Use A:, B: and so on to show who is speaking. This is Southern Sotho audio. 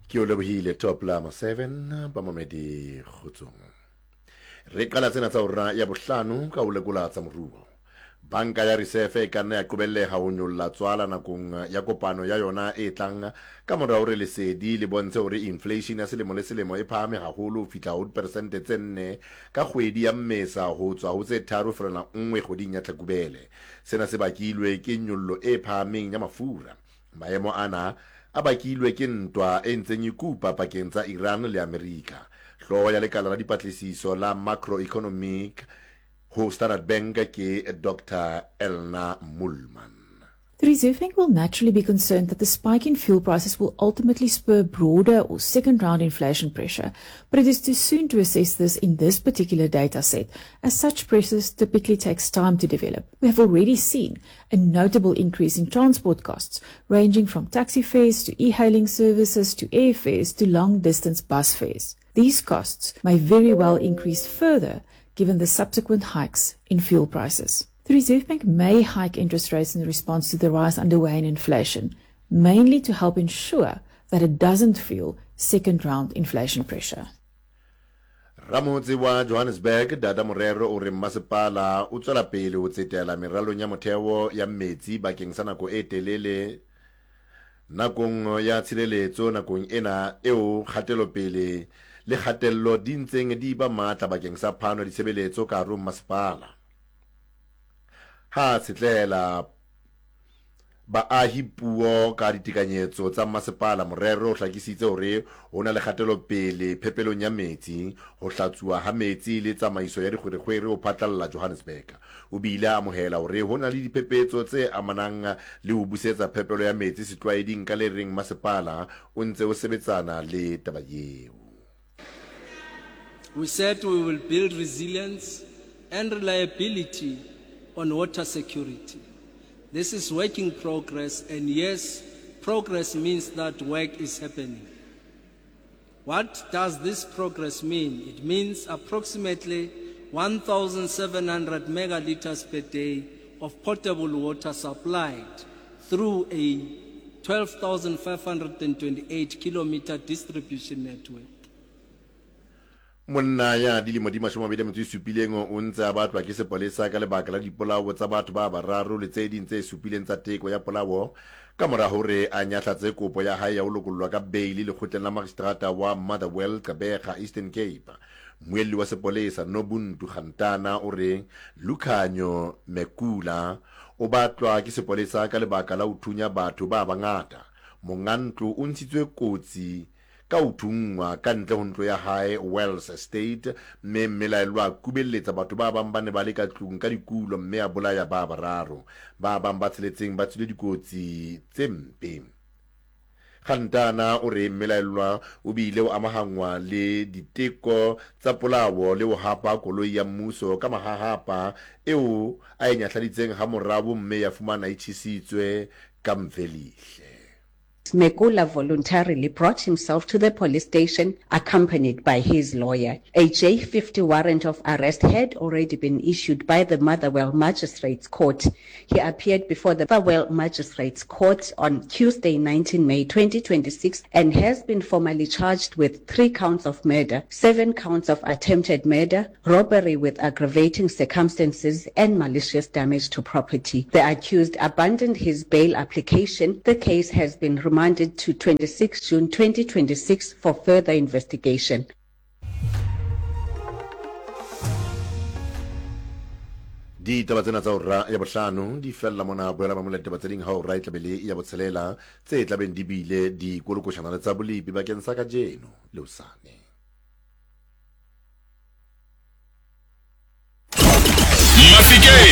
A: Ke o lebohile Top Lama 7 bamamedi kgotsong. Re qala tsena tsa hora ya bohlano ka ho lekola tsa moruo. Banka ya Risefe e ka nna ya qobelleha ho nyolla tswala nakong ya kopano ya yona e tlang ka mora hore lesedi le bontshe hore inflation ya selemo le selemo e phahame haholo ho fihla ho diperesente tse nne ka kgwedi ya Mmesa ho tswa ho tse 3.1 kgweding ya Tlhakubele. Sena se bakilwe ke nyollo e phahameng ya mafura. Maemo ana a bakilwe ke ntwa e ntseng e kupa pakeng tsa Iran le Amerika. Hlooho ya lekala la dipatlisiso la Macroeconomic ho Standard Bank ke Doctor Elna Moolman.
B: The Reserve Bank will naturally be concerned that the spike in fuel prices will ultimately spur broader or second round inflation pressure, but it is too soon to assess this in this particular data set, as such pressures typically takes time to develop. We have already seen a notable increase in transport costs, ranging from taxi fares to e-hailing services to airfares to long-distance bus fares. These costs may very well increase further given the subsequent hikes in fuel prices. The Reserve Bank may hike interest rates in response to the rise underway in inflation, mainly to help ensure that it doesn't fuel second-round inflation pressure.
A: Ramotse wa Johannesburg, Dada Morero o re mmasepala o tswela pele ho tsetela meralong ya motheo ya metsi bakeng sa nako e telele nakong ya tshireletso nakong ena eo kgatelopele le kgatello di ntseng di ba matla bakeng sa phano ya ditshebeletso ka hare ho mmasepala. Ha a tshetlehela baahi puo ka ditekanyetso tsa mmasepala, Morero o hlakisitse hore ho na le kgatelopele phepelong ya metsi, ho hlatsuwa ha metsi le tsamaiso ya dikgwerekgwere ho phatlalla Johannesburg. O bile a amohela hore ho na le diphephetso tse amanang le ho busetsa phepelo ya metsi setlwaeding ka le reng masepala o ntse o sebetsana le taba yeo.
C: We said we will build resilience and reliability on water security. This is work in progress, and yes, progress means that work is happening. What does this progress mean? It means approximately 1,700 megaliters per day of potable water supplied through a 12,528 kilometer distribution network.
A: Monna ya dilemo di 27 o ntse a batlwa ke sepolesa ka lebaka la dipolao tsa batho ba bararo le tse ding tse supileng tsa teko ya polao ka mora hore a nyahlatse kopo ya hae ya ho lokollwa ka beili lekgotleng la magistrata wa Motherwell, Gqeberha, Eastern Cape. Mmuelli wa sepolesa Nobuntu Gantana o re Lukhanyo Mekula o batlwa ke sepolesa ka lebaka la ho thunya batho ba bangata. Monga ntlo o ntshitswe kotsi ka ho thunngwa ka ntle ho ntlo ya hae Wells Estate mme mmelaellwa a kubelletsa batho ba bang ba ne ba le ka tlung ka dikulo mme a bolaya ba bararo. Ba bang ba tsheletseng ba tswile dikotsi tse mpe. Gantana o re mmelaellwa o bile o amahanngwa le diteko tsa polao le ho hapa koloi ya mmuso ka mahahapa eo a e nyahladitseng hamorao mme ya fumana e tjhesitswe ka Mvelihle.
D: Mekula voluntarily brought himself to the police station accompanied by his lawyer. A J50 warrant of arrest had already been issued by the Motherwell Magistrates Court. He appeared before the Motherwell Magistrates Court on Tuesday, 19 May 2026 and has been formally charged with three counts of murder, seven counts of attempted murder, robbery with aggravating circumstances and malicious damage to property. The accused abandoned his bail application. The case has been remanded to 26 June 2026 for further investigation.
A: Ditaba tsena tsa hora ya bohlano di fella mona. Boela mamola ditaba tse ding ha hora e tlabe le ya botshelela tse tlabeng di bile di kolokoshana le tsa bolepi bakeng sa kajeno le hosane.